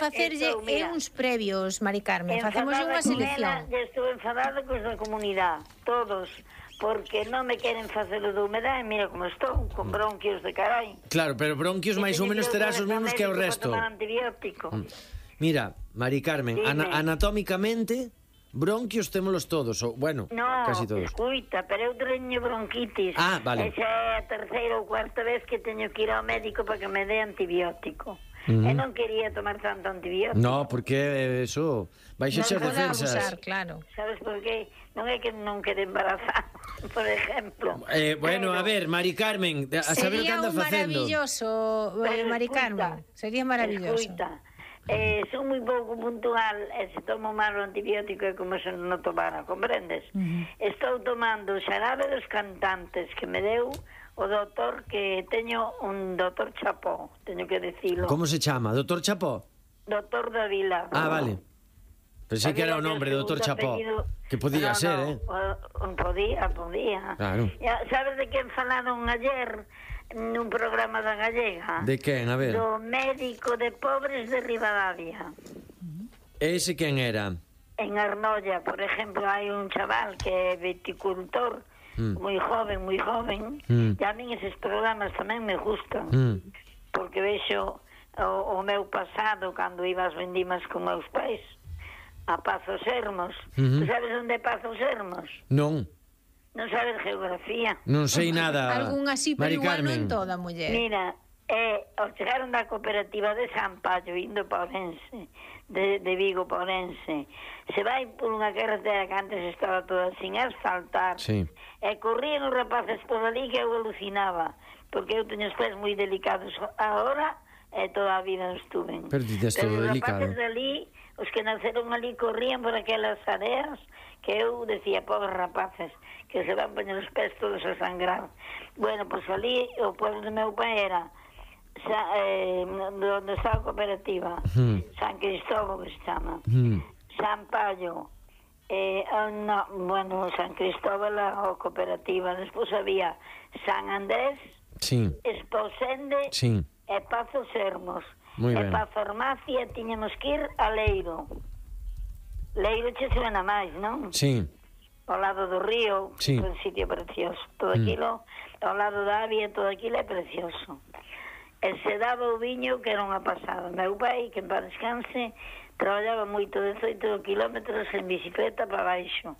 facerlle uns previos, Mari Carmen. Facemos unha selección. Estou enfadada cos da comunidade, todos, porque non me queren facer o de humedade. Mira como estou, con bronquios de carai. Claro, pero bronquios máis ou menos terás os mesmos que o resto. Antibiótico. Mira, Mari Carmen, anatómicamente bronquios témolos todos, ou, bueno, casi todos. No, escuita, pero eu teño bronquitis. Ah, vale. Esa é a terceira ou cuarta vez que teño que ir ao médico para que me dé antibiótico. E non quería tomar tanto antibiótico. No, porque eso vais a echar defensas. Abusar, claro. Sabes por qué? Non é que non quede embarazada, por exemplo. Bueno, a ver, Mari Carmen, a saber o que anda facendo. Sería maravilloso, Mari Carmen. Sería maravilloso. Escuita, son moi pouco puntual e se tomo mal o antibiótico é como se non tomara, comprendes? Estou tomando o xarabe dos cantantes que me deu o doutor, que teño un doutor Chapó, teño que dicilo. Como se chama? Doutor Chapó? Doutor Davila. Ah, vale. Pensei que era o nombre, doutor Chapó. Que podía ser, Podía. Claro. Sabes de quen falaron ayer nun programa da Gallega? De quen, a ver? Do médico de pobres de Ribadavia. Ese quen era? En Arnolla, por exemplo, hai un chaval que é viticultor, moi joven, e a min eses programas tamén me gustan, porque vexo o meu pasado cando iba ás vendimas con meus pais a Pazos Hermos. Tu sabes onde é Pazos Hermos? Non. Non sabes geografía? Non sei nada, Algún así, pero Mari igual Carmen. non toda, muller. Mira, ao chegaron da cooperativa de San Pallo, indo para Ourense, de Vigo para Ourense, se vai por unha carretera que antes estaba toda sin asfaltar, e corrían os rapaces por ali que eu alucinaba, porque eu teño os pés moi delicados agora, e toda a vida non estuve. Pero todo delicado. Os rapaces dali, os que naceron ali, corrían por aquelas areas, que eu decía, pobres rapaces, que se van poñer os pés todos a sangrar. Bueno, pois ali, o pueblo do meu pai era onde está a cooperativa, San Cristóbal, que se chama, San Pallo, San Cristóbal a cooperativa. Despois había San Andrés, Esposende e Pazos Hermos. E para a farmacia tiñamos que ir a Leiro. Leiro che suena máis, non? Sí. Ao lado do río, un sitio precioso. Todo aquilo, ao lado da Avia, todo aquilo é precioso. E se daba o viño, que era unha pasada. Meu pai, que en paz descanse, traballaba moito, 18 kilómetros en bicicleta para baixo.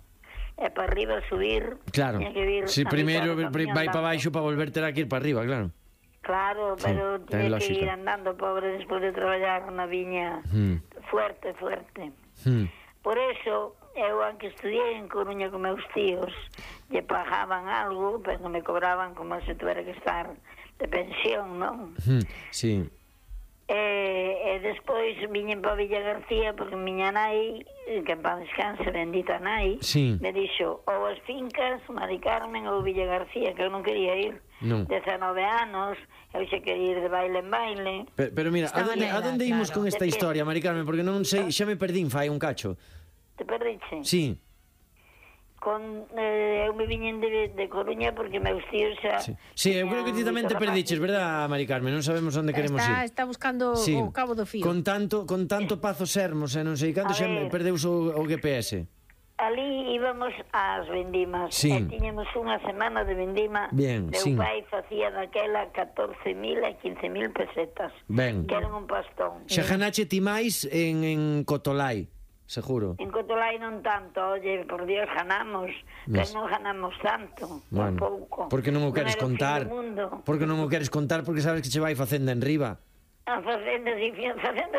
E para arriba subir. Claro, si primeiro vai para baixo para volver terá que ir para arriba, claro. Claro, pero tiene que ir andando, pobre, despois de traballar na viña fuerte. Por eso, eu, aunque estudiei en Coruña con meus tíos, lle pagaban algo, pero non me cobraban como se tuviera que estar de pensión, non? Sí. E despois viñen para Villa García, porque miña nai, que en paz descanse, bendita nai, me dixo, ou as fincas, Mari Carmen, ou Villa García, que eu non quería ir. 19 anos, eu xa quería ir de baile en baile. Pero mira, a donde imos con esta historia, Mari Carmen? Porque non sei, xa me perdín fai un cacho. Te perdiche? Sí. Eu me viñen de Coruña porque meus tíos xa... Sí, eu creo que ti tamén te perdiches, verdad, Mari Carmen? Non sabemos onde queremos ir. Está buscando o cabo do fío. Con tanto Pazos Hermos, e non sei canto, xa perdeus o GPS. Ali íbamos ás vendimas, e tiñemos unha semana de vendima. Meu pai facía daquela 14.000 e 15.000 pesetas, que eran un pastón. Xa ganache ti máis en Cotolai, seguro. En Cotolai non tanto, oye, por Dios, ganamos, pero non ganamos tanto, un pouco. Porque non o queres contar, porque non o queres contar, porque sabes que che vai facenda en riba. A facenda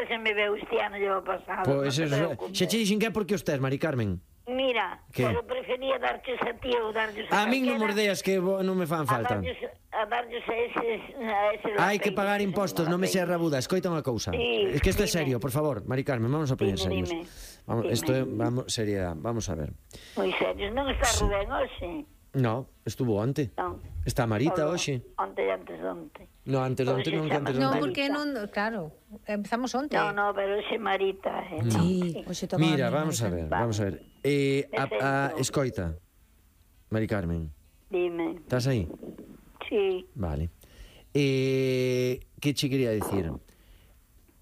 se me veu este ano, llevo pasado. Pois xa che dixen que é porque os tes, Mari Carmen. Mira, pero prefería darches a ti ou darches a min non mordeas que non me fan falta. A darches a ese... Hai que pagar impostos, non me seas rabuda. Escoita unha cousa. Es que isto é serio, por favor, Mari Carmen, vamos a poñer serios. Isto é, seriedade, vamos a ver. Moi serios, non está Rubén hoxe? No, estuvo onte. Está Marita hoxe. Onte e antes de onte. No, antes de onte non, que antes de onte. Non, porque non, claro, empezamos onte. No, pero hoxe Marita. Sí, hoxe tomaba. Mira, vamos a ver. Escoita, Mari Carmen. Dime. Estás aí? Sí. Vale. Que che quería dicir?